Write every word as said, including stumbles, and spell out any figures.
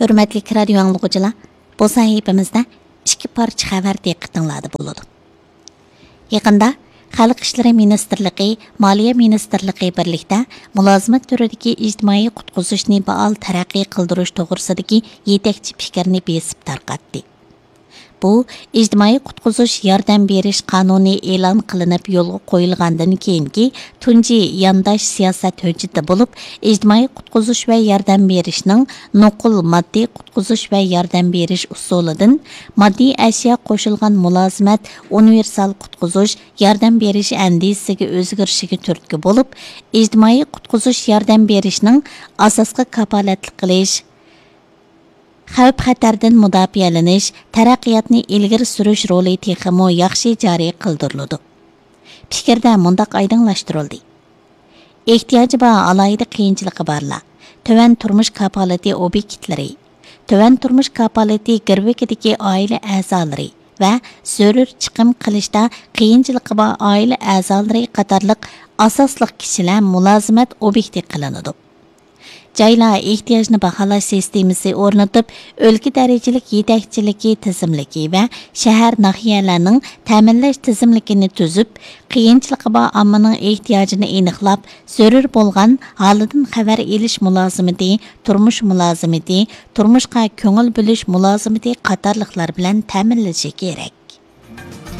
ھۆرمەتلىك رادىيو ئاڭلىغۇچىلار، بۇ سەھىپىمىزدە ئىككى پارچە خەۋەر دىققىتىڭلاردا بولىدۇ. يېقىندا خەلق ئىشلىرى مىنىستىرلىقى، مالىيە مىنىستىرلىقى بىرلىكتە مۇلازىمەت تۈرىدىكى ئىجتىمائىي قۇتقۇزۇشنى پائال تەرەققىي قىلدۇرۇش توغرىسىدىكى يېتەكچى پىكىرنى بېسىپ تارقاتتى. بۇ ئىجتىمائىي قۇتقۇزۇش ياردەم بېرىش قانۇنى ئېلان قىلىنىپ يولغا قويۇلغاندىن كېيىنكى تۇنجى يانداش سىياسەت ھۆججىتى بولۇپ، ئىجتىمائىي قۇتقۇزۇش ۋە ياردەم بېرىشنىڭ نوقۇل ماددىي قۇتقۇزۇش ۋە ياردەم بېرىش ئۇسۇلىدىن ماددىي ئەشيا قوشۇلغان مۇلازىمەت ئۇنىۋېرسال قۇتقۇزۇش ياردەم بېرىش ئەندىزىسىگە ئۆزگىرىشىگە تۈرتكە بولۇپ، ئىجتىمائىي قۇتقۇزۇش ياردەم بېرىشنىڭ ئاساسقا كاپالەتلىك قىلىش، خەۋپ-خەتەردىن مۇداپىئەلىنىش، تەرەققىياتنى ئىلگىرى سۈرۈش رولى تېخىمۇ ياخشى جارى قىلدۇرۇلىدۇ. پىكىردە مۇنداق ئايدىڭلاشتۇرۇلدى: ئېھتىياجى بار ئالاھىدە قىيىنچىلىقى بارلار، تۆۋەن تۇرمۇش كاپالىتى ئوبيېكتلىرى، تۆۋەن تۇرمۇش كاپالىتى گىرۋىكىدىكى ئائىلە ئەزالىرى ۋە زۆرۈر چىقىم قىلىشتا قىيىنچىلىقى بار ئائىلە ئەزالىرى قاتارلىق ئاساسلىق كىشىلەر مۇلازىمەت ئوبيېكتى قىلىنىدۇ. جايلار ئېھتىياجنى باھالاش سىستېمىسى ئورنىتىپ، ئۆلكە دەرىجىلىك يېتەكچىلىكى تىزىملىكى ۋە شەھەر، ناھىيەلەرنىڭ تەمىنلەش تىزىملىكىنى تۈزۈپ، قىيىنچىلىقى بار ئاممىنىڭ ئېھتىياجىنى ئېنىقلاپ، زۆرۈر بولغان ھالىدىن خەۋەر ئېلىش مۇلازىمىتى، تۇرمۇش مۇلازىمىتى، تۇرمۇشقا كۆڭۈل بۆلۈش مۇلازىمىتى قاتارلىقلار بىلەن تەمىنلىشى كېرەك.